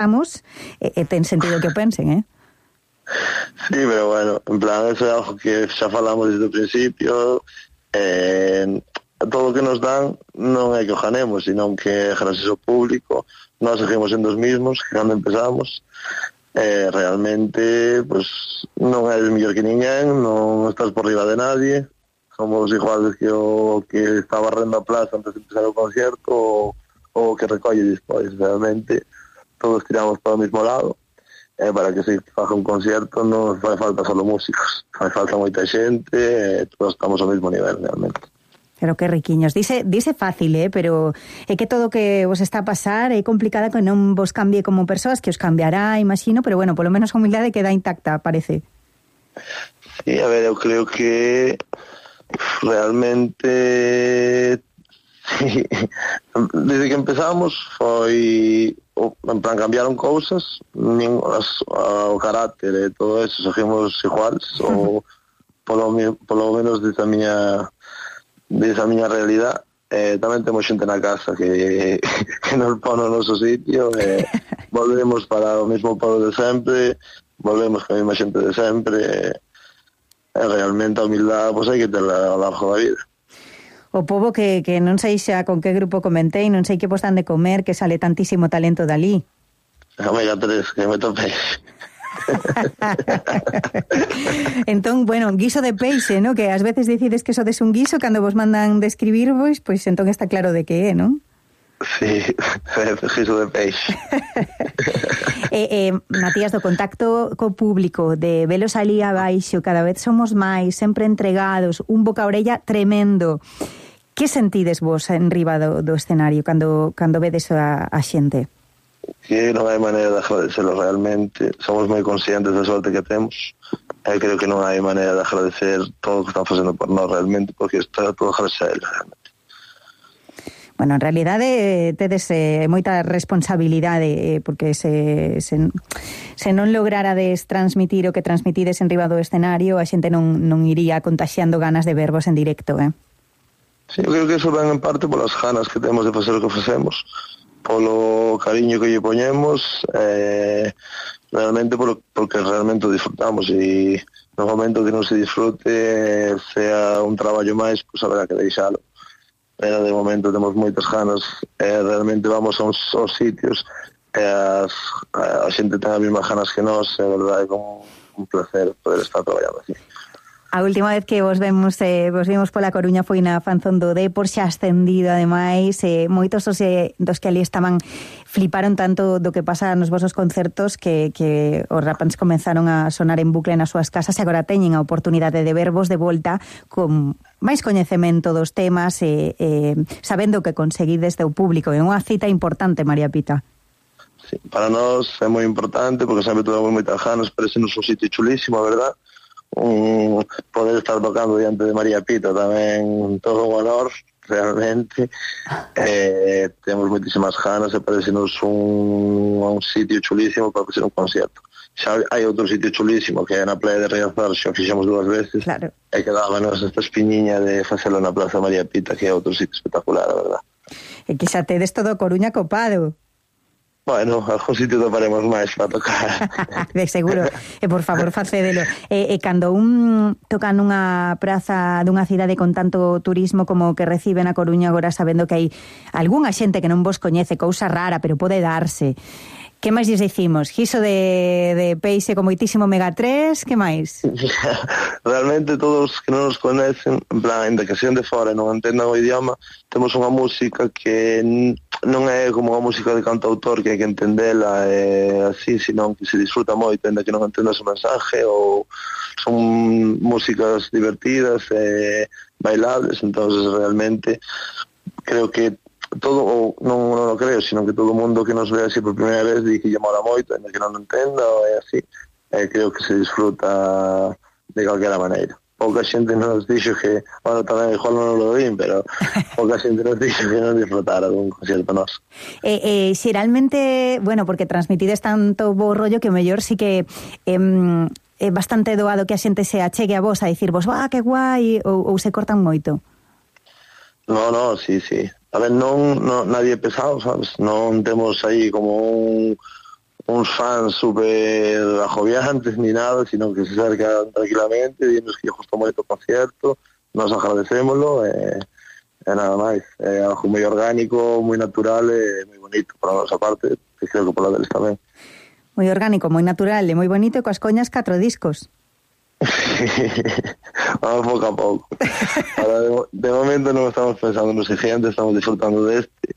pensamos, ten sentido que o pensen, Sí, pero bueno, en plan, eso é algo que xa falamos desde o principio. Todo o que nos dan non é que o ganemos, sino que gracias ao público nós seguimos sendo os mismos que cando empezamos. Realmente, pues, non eres mellor que ninguén, non estás por riba de nadie, somos iguales que o que está barrendo a plaza antes de empezar o concierto o que recolle despois. Realmente todos tiramos para o mismo lado. Para que se faga un concierto non fai falta solo músicos, fai falta moita xente, todos estamos ao mesmo nivel realmente. Pero que riquiños, dice fácil, pero é que todo o que vos está a pasar é complicada que non vos cambie como persoas, que os cambiará, imagino, pero bueno, polo menos a humildade queda intacta, parece. Sí, a ver, eu creo que realmente sí, desde que empezamos foi, en plan, cambiaron cousas, o carácter e todo eso, seguimos iguales, ou polo menos desde a miña realidad. Tamén temos xente na casa que nos pon no noso sitio, volvemos para o mesmo povo de sempre, volvemos con a mesma xente de sempre, realmente a humildade pois hai que terla ao largo da vida. O pobo que non sei xa con que grupo comentei, non sei que vos dan de comer, que sale tantísimo talento dali. Omega 3, que me topei. Entón, bueno, guiso de peixe, ¿no? Que ás veces decides que sodes un guiso cando vos mandan describirvos, pois entón está claro de que é, non? Sí, guiso de peixe. Matías, do contacto co público, de velos ali abaixo, cada vez somos máis, sempre entregados, un boca a orella tremendo. Que sentides vos en riba do escenario cando vedes a xente? Que non hai maneira de agradecerlo realmente. Somos moi conscientes da sorte que temos. Creo que non hai maneira de agradecer todo o que están facendo por nós realmente, porque está todo agradecer realmente. Bueno, en realidade tedes moita responsabilidade, porque se non lograrades transmitir o que transmitides en riba do escenario, a xente non iría contaxiando ganas de vervos en directo, Sí, eu creo que eso ven en parte polas ganas que temos de facer o que facemos, polo cariño que lle poñemos, realmente porque realmente o disfrutamos, e no momento que non se disfrute, sea un traballo máis, pois haberá que deixalo. Pero de momento temos moitas ganas, realmente vamos aos sitios, a xente ten as mesmas ganas que nós, é verdade, é como un placer poder estar traballando así. A última vez que vos vimos pola Coruña foi na Fanzón do Depor, xa ascendido ademais, moitos dos que ali estaban fliparon tanto do que pasa nos vosos concertos que os rapans comenzaron a sonar en bucle nas súas casas e agora teñen a oportunidade de vervos de volta con máis coñecemento dos temas sabendo que conseguides do público. É unha cita importante, María Pita. Sí, para nós é moi importante porque sempre tuvemos moitas ganas, parece-nos un sitio chulísimo, a verdad. Poder estar tocando diante de María Pita tamén todo un honor realmente. Temos moitísimas ganas e parece-nos un sitio chulísimo para facer un concierto. Xa hai outro sitio chulísimo que é na Praia de Riazor, xa fixemos 2 veces, claro. E quedábanos esta espiñiña de facelo na Plaza María Pita, que é outro sitio espectacular, a verdad. E que xa tedes todo Coruña copado. Bueno, algún sitio toparemos máis para tocar. De seguro. E por favor, facédelo. Cando toca nunha praza dunha cidade con tanto turismo como que recibe na Coruña agora, sabendo que hai algunha xente que non vos coñece, cousa rara, pero pode darse. Que máis lles dicimos? Guiso de peixe con moitísimo omega 3, que máis? Realmente todos que non nos conhecen, en plan, ainda que sean de fora e non entendan o idioma, temos unha música que non é como unha música de cantautor que hai que entendela así, senón que se disfruta moito, ainda que non entendas o mensaje, ou son músicas divertidas e bailables. Entonces realmente creo que todo, ou non o creo, sino que todo o mundo que nos ve así por primeira vez di que lle mola moito, ainda que non entenda, ou é así, creo que se disfruta de calquera maneira. Pouca xente nos dixo que, bueno, tamén igual non lo vin, pero pouca xente nos dixo que non disfrutara dun concierto noso. Xeralmente, bueno, porque transmitides tanto bo rollo que o mellor sí que é bastante doado que a xente se achegue a vos a dicirvos, que guai, ou se cortan moito. No, sí. A ver, non nadie é pesado, sabes? Non temos aí como uns fans super agobiantes ni nada, sino que se acercan tranquilamente, dinos que gustou moito o concierto, nos agradecémolo, e nada máis. É algo moi orgánico, moi natural e moi bonito para a nosa parte, que creo que pola deles tamén. Moi orgánico, moi natural e moi bonito, e coas coñas 4 discos. Vamos pouco a pouco. Ahora, de momento non estamos pensando no siguiente, estamos disfrutando deste.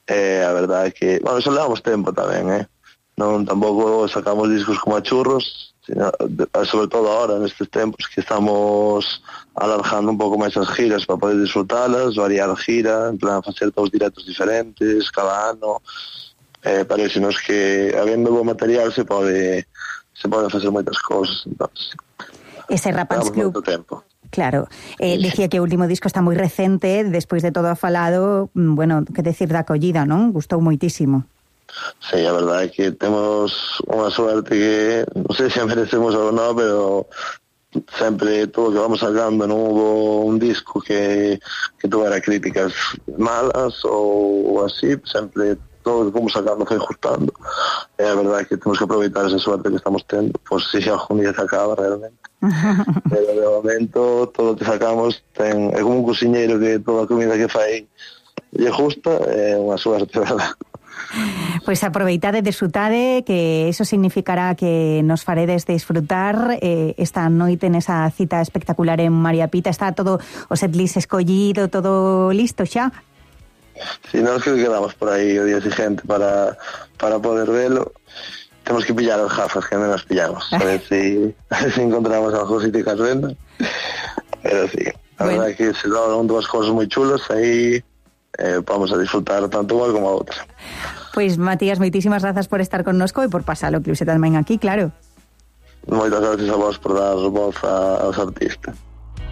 A verdade é que, bueno, eso levamos tempo tamén, non tampouco sacamos discos como a churros, sino, sobre todo ahora nestes tempos que estamos alargando un pouco máis as giras para poder disfrutalas, variar a gira, en plan facer todos directos diferentes cada ano, parecenos que habendo bo material se poden facer moitas cousas, entonces ese Rapans Club, claro, dicía que o último disco está moi recente, despois de todo a falado, bueno, que decir da acollida, non? Gustou moitísimo. Sí, a verdade é que temos unha suerte que non sei se a merecemos ou non, pero sempre todo o que vamos sacando non hubo un disco que tuvera críticas malas ou así, sempre todo o que fomos sacando foi gustando, e a verdade é que temos que aproveitar esa suerte que estamos tendo, por si algún día se acaba realmente. Pero de momento todo o que sacamos é como un cociñeiro que toda a comida que fai lle gusta, é unha suerte, verdad. Pois aproveitade, desfrutade, que eso significará que nos faredes disfrutar esta noite nesa cita espectacular en María Pita. Está todo o setlist escollido, todo listo xa? Si, nós que quedamos por aí o día siguiente para poder velo. Temos que pillar as gafas que non as pillamos, a ver si encontramos algo sitio que as venda. Pero sí, a verdade é que se dan dúas cosas moi chulas, aí vamos a disfrutar tanto unha como a outra. Pois, Matías, moitísimas grazas por estar connosco e por pasar o Club tamén aquí, claro. Moitas gracias a vos por dar voz aos artistas.